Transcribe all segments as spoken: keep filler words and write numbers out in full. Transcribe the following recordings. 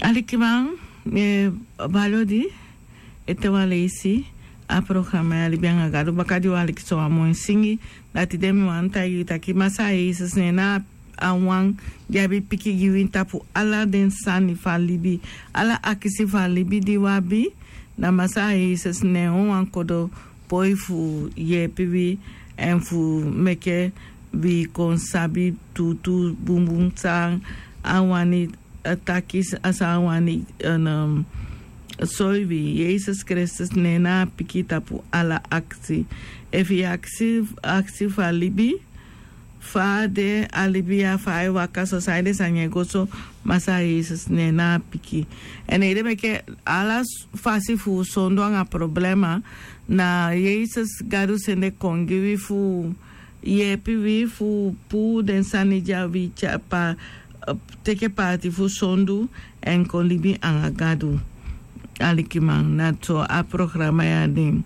Alikiman, mi e bali odi ete wan leisi a programa ya Libi anga Gadu. Baka di wi aliki so wan moi singi, dati de mi wani taigi yu taki Masaa Yesus na en na a wan di abi piki gi wi tapu ala den sani fu a libi. Ala akisi fu a libi di wi abi, na Masaa Yesus na en wawan kodo poi fu yepi wi èn fu meke wi kon sabi tuutuu bunbun san a wani, eh, taki, san a wani, eh, soi wi. Yesus Kristus na en na a piki tapu ala akisi. Efu yu akisi, akisi fu a libi, fa a de a libi ya, fa ai waka so, san a ede, san e go so, Masaa Yesus na en na a piki. Èn ede meke ala fasi fu sondu anga problema, na Yesus Gadu sende kon gi wi fu yepi wi fu puu den sani di a wi tyari, teke paati fu sondu èn kon libi anga Gadu. Alikiman, na so a programa ya de.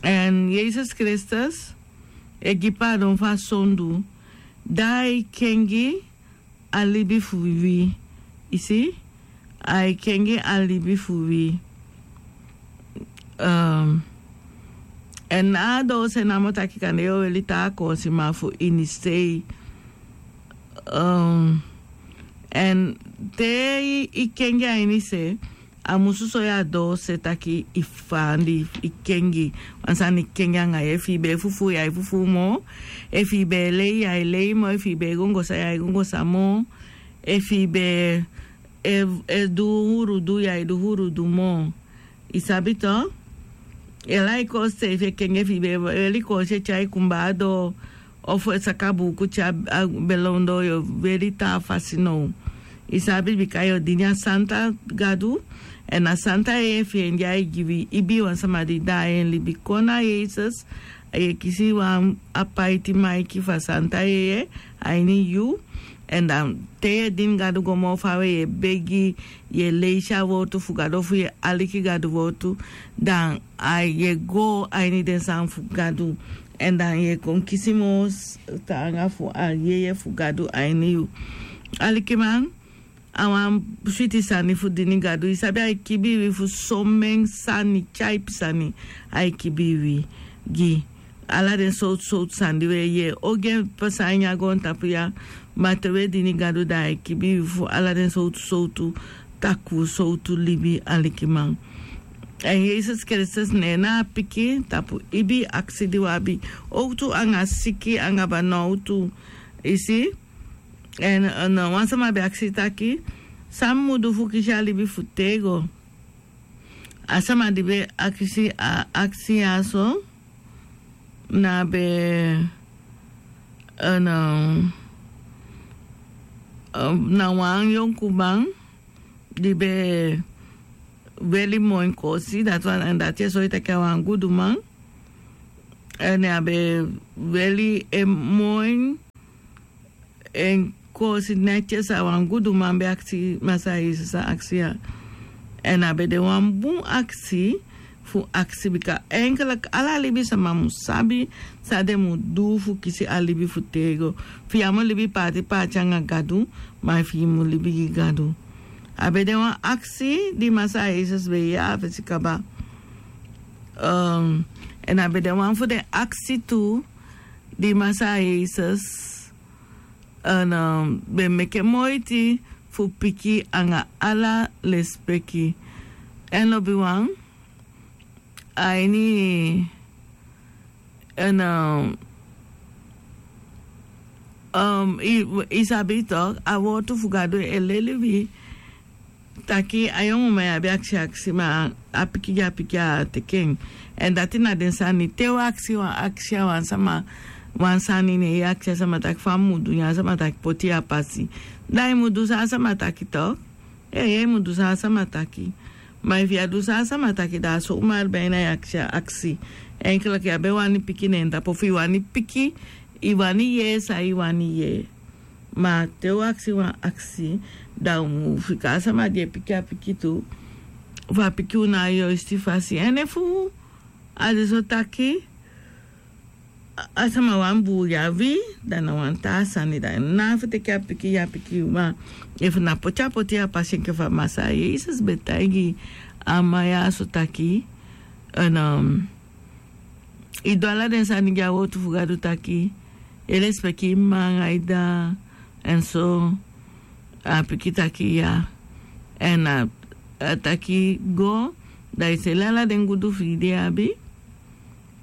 Èn Yesus Kristus e gi paadon fu a sondu, da ai kengi a libi fu wi. I si? Ai kengi a libi fu wi. Ehm, èn a doose namo taki kande yu o weli taa koosi, ma fu ini sei. Ehm, èn te i, i kengi a ini se, a musu soi a doose taki i fandi, i kengi. Wan sani kengi anga yu. Efu i be e fufuu, yu ai fufuu moo. Efu i be e lei, yu ai lei moo. Efu i be e gongosa, yu ai gongosa moo. Efu i be e, e du hurudu, yu ai du hurudu moo. I sabi to? Yu e lai koosi, efu i e kengi, efu i be e weli koosi e tyai kumbaa doo, ofu e saka buuku tyai a, a belon doo, yu o weli taa fasi now. I sabi, bika yu o dini a santa Gadu, èn a santa yeye fi en di ai gi wi. Ibi wan sama di daai en libi kon na Yesus, yu e kisi wan apaiti maiki fu a santa yeye a ini yu. Èn dan te yu e dini Gadu go moo fawe, yu e begi, yu e leisi a wowtu fu Gadu, ofu yu e aliki Gadu wowtu, dan a yu e go a ini den sani fu Gadu. Èn dan yu e kon kisi moo s-, taanga fu a yeye fu Gadu a ini yu. Alikiman, a wan switi sani fu dini Gadu. I sabi, ai kibii wi fu somen sani, tyaipi sani ai kibii wi gi. Ala den sowtu sowtu sani di wi e yee ogii en pasa a ini a goontapu ya. Ma te wi e dini Gadu, dan ai kibii wi fu ala den sowtu sowtu takuu, sowtu libi, alikiman. Èn Yesus Kristus na en na a piki tapu ibii akisi di wi abi. Owktu anga siki anga banowtu. I si? Èn, èn wan sama be akisi taki, san mi mu du fu kisi a libi fu tego? A sama di be akisi a akisi ya so, na be, èn, na wan yonkuman di be weli moi koosi, dati wan, èn dati e soi taki a wan guduman. Èn a be weli en moi, en koosi netjes, a wan guduman be akisi Masaa Yesus a akisi ya. Èn a be de wan bun akisi fu akisi, bika enkeliki ala libisama mu sabi san den mu du fu kisi a libi fu tego. Fi yu á mu libi paati paati anga Gadu, ma fi yu mu libi gi Gadu. A be de wan akisi di Masaa Yesus be yee a fesi kaba. Ehm, èn a be de wan fu den akisi tu di Masaa Yesus, èn, ehm, be meke moiti fu piki anga ala lesipeki. Èn lobiwan, a ini, èn, ehm, ehm, i, i sabi tok, a wowtu fu Gadu e leli wi taki a yonguman ya be akisi akisi, ma a piki di a piki a teki en. Èn dati na den sani, te wi akisi wan akisi a wan sama, wan sani, ne i akisi a sama taki fa mi mu du, ne a sama taki poti yu a pasi. Da i mu du san a sama taki tok. Ee, yu mu du san a sama taki. Ma efu yu á du san a sama taki, da a so umari ben na yu akisi a akisi. Enkeliki yu á be wani piki na en tapu, fu yu wani piki, yu wani yee san yu wani yee. Ma te wi akisi wan akisi, da u mu fika a sama di e piki a piki tu, fu a piki u na a yoisti fasi. Èn efu a de so taki, A sama wan bun yavi, dan na wan taa sani dan na fu teki a piki ya piki ma efu na poti a poti a pasi enke fa masa yesus be taigi a man ya so taki. En i du ala den sani gi a wotu fu gadu taki e lespeki manga ida. En so a piki taki ya. En a taki go dan i seli ala den gudu fu i di abi.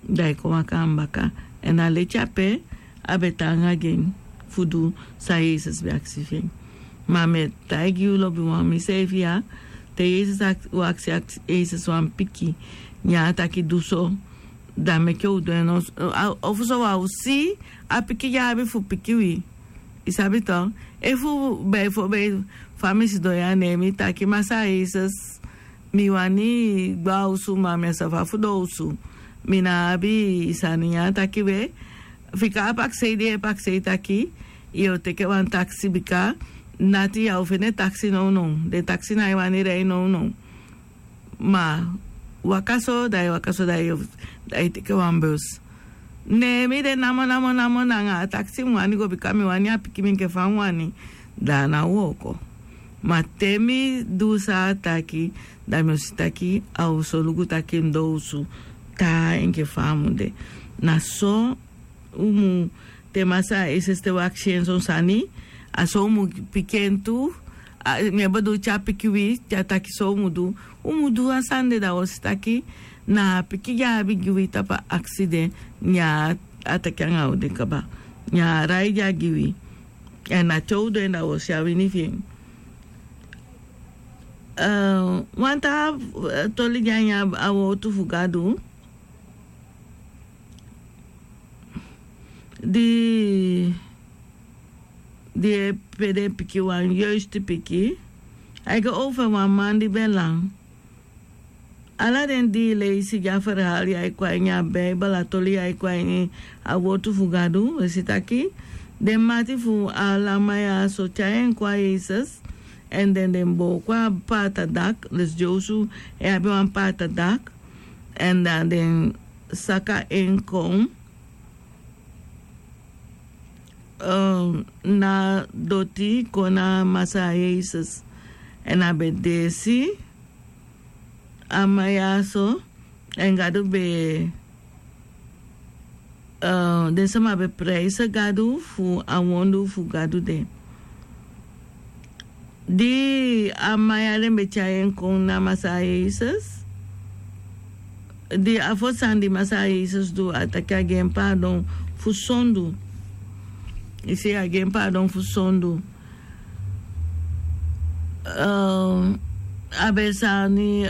Dan i kon waka a mbaka. En a leti ape a be tan anga gi en fu du san yesus be aksi fi en. Ma mi e taigi yu lobi wan mi seefi ya te yesus u aksi yesus wan piki ne a taki du so. Dan meke u du en ofu so wan u si a piki di a abi fu piki wi. I sabi to efu bai fo bai fa mi sidon ya ne mi taki masa yesus mi wani gba osu ma mi a safa fu don osu. Mi na abi sani ya taki we fika a paksei di e paksei taki yu o teke wan taksi bika nati ya o fende taksi nownow. Den taksi na e wani rei nownow. Ma waka so dan e waka so dan e teke wan bus. Ne mi de namo namo namo nanga a taksi mi wani go bika mi wani a piki mi enke fa mi wani. Dan a na wooko. Ma te mi du san a taki dan mi o si taki a o solugu taki mi don osu taa enke fa a mu de. Na so u mu te masa a eseste u aksi en son sani. A so u mu piki en tu. Mi e bo du te a piki wi te a taki so u mu du. U mu du a sani de dan u o si taki na a piki di a abi gi wi tapu a aksi de. Ne a taki anga u de kaba ne a rai di a gi wi. En na te u du en dan u o si a wini fi en. Wan taa toli di a ini a wotu fu gadu di di e pe den piki wan yoisti piki. A e go ofu en wan man di ben lan. Ala den di leisi gi a ferhali a e kon a ini a beibel a toli a e kon a ini a wotu fu gadu e si taki den mati fu a lanman ya so tyai en kon a yesus. Èn den den booko a paata dak dus dyosu e abi wan paata dak. Èn dan den saka en kon na doti kon na masa yesus. Èn a be deesi a man ya so. Èn gadu be den sama be prijse gadu fu a wondu fu gadu de. Di a man ya den be tyai en kon na masa yesus. Di a fosi sani di masa yesus du a taki a gi en paadon fu sondu. I si a gi en paadon fu sondu. A be sani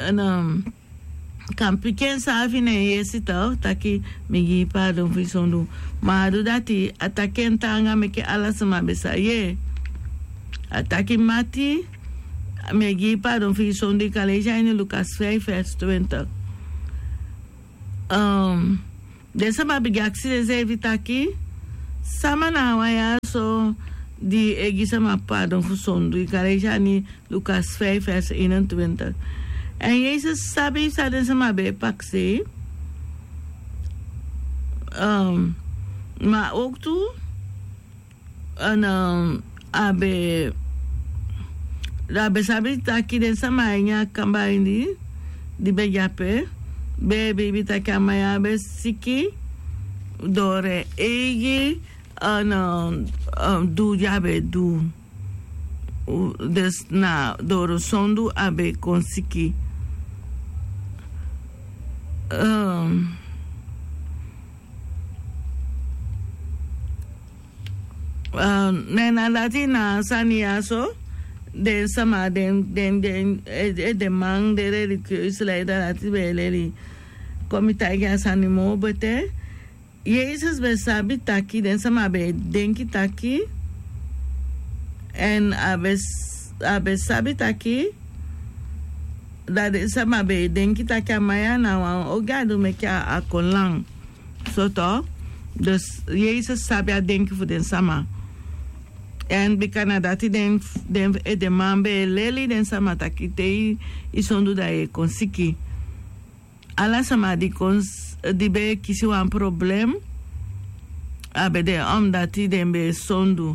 kan piki en saafi na en yesi taki mi gi i paadon fu i sondu. Ma a du dati a taki en taanga meke ala sama be sa yee. A taki mati mi e gi i paadon fu i sondu i kan leisi a ini lukas feifi vers twintig. Den sama bigin aksi denseefi taki sama na a wan ya so di e gi sama paadon fu sondu i kan leisi a ini lukas feifi vers eenentwintig. Èn yesus sabi san den sama be e paksei. Ma owktu a be a be sabi taki den sama a ini a kamba ini di be de ape be e biibi taki a man ya be siki. Doro en eigi a na du di a be du. Dus na doro sondu a be kon siki. Ne na dati na sani ya so den sama den den den edeman den religieuse leider dati be e leli. Kon mi taigi a sani moo bete. Yesus be sabi taki den sama be e denki taki èn a be sabi taki da den sama be e denki taki a man ya na wan ogii a du meke a kon lan. Soto dus yesus sabi a denki fu den sama. Èn bika na dati den edeman be e leli den sama taki te i sondu da yu e kon siki. Ala sama di kon di be e kisi wan problem a be de, omdati den be e sondu.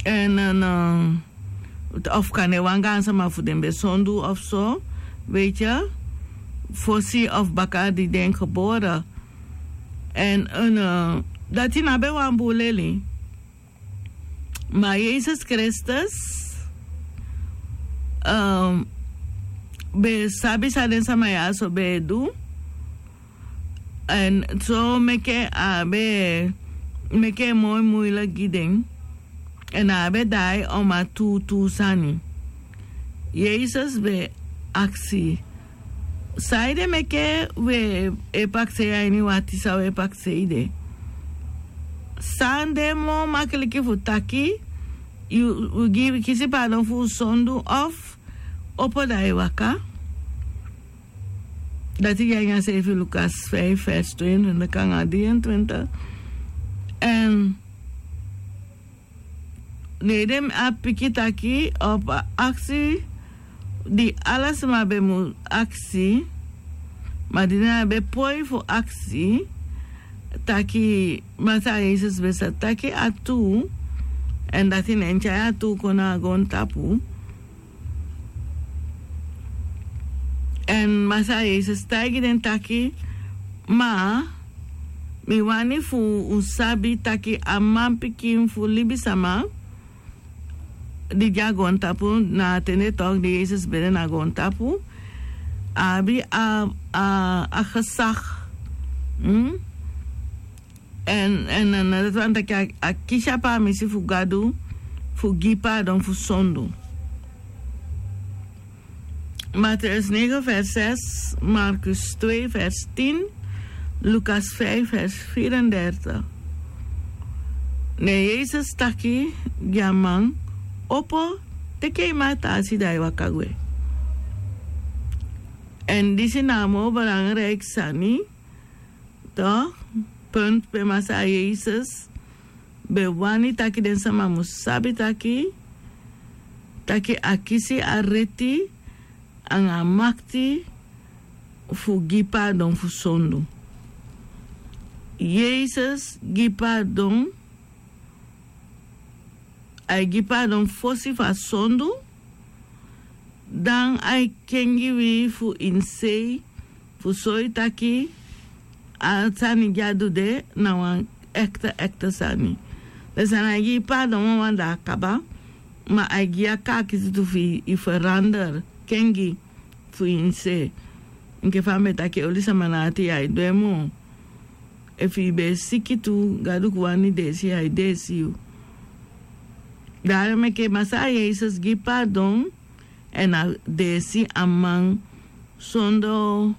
Èn, èn, eh, of kande wan gaansama fu den be sondu of so, weet je, fosi of baka di den gebore. Èn, èn, eh, dati na be wan bun leli. Ma Yesus Kristus, eh, be sabi san den sama ya so be e du. Èn so meke a be meke moi moeilijk gi den. Èn a be daai oma tuutuu sani. Yesus be aksi: Saide meke we e paksei a ini wati san we paksei de? San de moo makiliki fu taki, yu, yu gi, kisi paadon fu yu sondu of opo da yu waka? Dati gi a ini a seefi Lukas vijf vers tweeëntwintig nanga drieëntwintig. Èn ne den abi piki taki, op a aksi di ala sama be mu aksi, ma di den á be poi fu aksi, taki Masaa Yesus be sa taki a tuu, èn dati ne en tyai a tuu kon na a goontapu. Èn Masaa Yesus taigi den taki: Ma mi wani fu un sabi taki a manpikin fu libisama di de a goontapu, na a ten de tok di Yesus be de na goontapu, a abi a, a, a gezag. Hmm? Èn, èn, èn dati wani taki a, a kisi a paamisi fu Gadu fu gi paadon fu sondu. Mateus negen vers zes, Markus twee vers tien, Lukas vijf vers vierendertig. Ne Yesus taki gi a man: Opo, teke yu mati a si da yu waka gwe. Èn disi na a moo belangrijk sani, toch, punt pe Masaa Yesus be wani taki den sama mu sabi taki, taki a kisi a reti anga a makti fu gi paadon fu sondu. Yesus gi paadon, a e gi paadon fosi fu a sondu, dan a e kengi wi fu inisei, fu soi taki a sani di a du de na wan ekte, ekte sani. Den sani a e gi paadon wawan da a kaba, ma a e gi a kaakiti tu fu i verander, kengi fu inisei. Enke fa mi be taki, oli sama na ati ya e du en moo. Efu i be e siki tu, Gadu wani deesi, a e deesi yu. Daarom meke Masaa Yesus gi paadon, èn a deesi a man sondee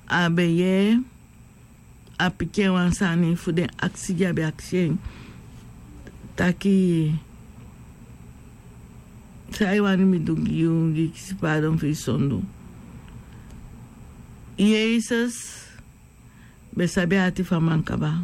a be yee a piki en wan sani fu den aksi di a be aksi en. Taki, san yu wani mi du gi yu, gi kisi paadon fu yu sondu? Yesus be sabi a ati fu a man kaba.